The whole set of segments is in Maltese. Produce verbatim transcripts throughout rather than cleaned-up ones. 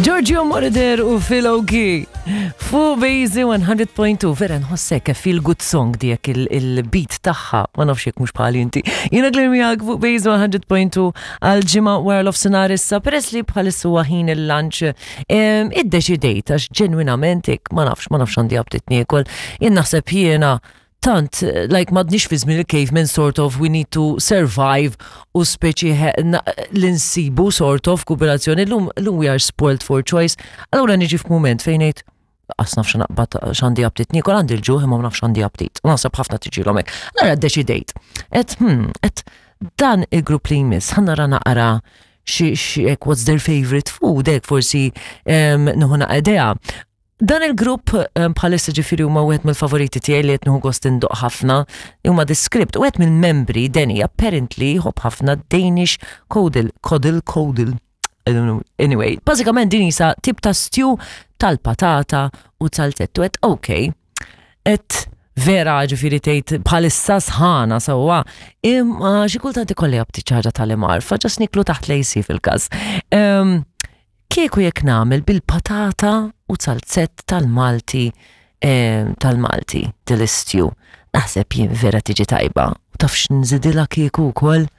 Giorgio Moroder u Phil Oakey. Fuq Bejzi one hundred point two, vera nħossek feel good song dijek il-beat tagħha, ma nafx jekk mhux bħali inti. Jiena Glenn miegħek fuq Bejzi one hundred point two għal ġimgħa wara l-nofsinhar issa, peress li bħalissa huwa ħin il-lunch, iddeċidejt għax ġenwinament hekk ma nafx, ma nafx għandi aptit niekol. Jien naħseb jiena tant, like, m'għadniex fi żmien il-caveman, sort of, we need to survive u speċi l-insibu sort of kooperazzjoni. L-lum, l-lum we are spoiled for choice. Allura niġi f'mument fejn ngħid, qas naf x'naqbad, x'għandi aptit niekol, għandi l-ġuħ imma ma nafx għandi aptit. Naħseb ħafna tiġilhom hekk. Allura ddeċidejt. Et, hmm, et dan il-grupp li jmiss, ħa nara naqra xi xi what's their favorite food, hekk forsi nieħu idea. Dan il-grupp bħalissa ġifieri huma wieħed mill-favoriti tiegħi li qed nieħu gost indoqq ħafna, huma The Script, u wieħed mill-membri, Danny, apparently jħobb ħafna Danish Kodel, Kodel, Kodel. I don't know. Anyway, bażikament din isa tip ta' stew tal-patata u tal-tettu. Et okay, et vera ġifieri tgħid bħalissa sħana sewwa, imma xi kultant ikolli aptit ċaġa tal-imar, fa just niklu taħt l-A C fil-każ. Kieku jekk nagħmel bil-patata u zalzett tal-Malti tal-Malti dil-stew. Naħseb jien vera tiġi tajba. U taf x'nżidilha kieku wkoll?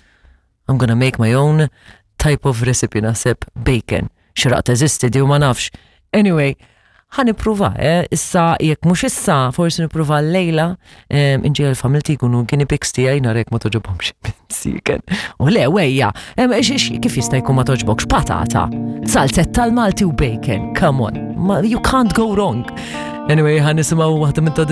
I'm gonna make my own type of recipe, naħseb bacon. Xraq teżisti di u ma nafx. Anyway, ħa nipprova, eh? Issa, jekk mhux issa, forsi nipprova l-lejla, inġi l-familti jkunu guinea pigs tiegħi narek ma togħġobhomx siken. U le, wejja, kif jista' jkun ma togħġbokx patata, zalzett tal-Malti u bacon, come on, ma, you can't go wrong. Anyway, ħa nisimgħu waħda minn ta'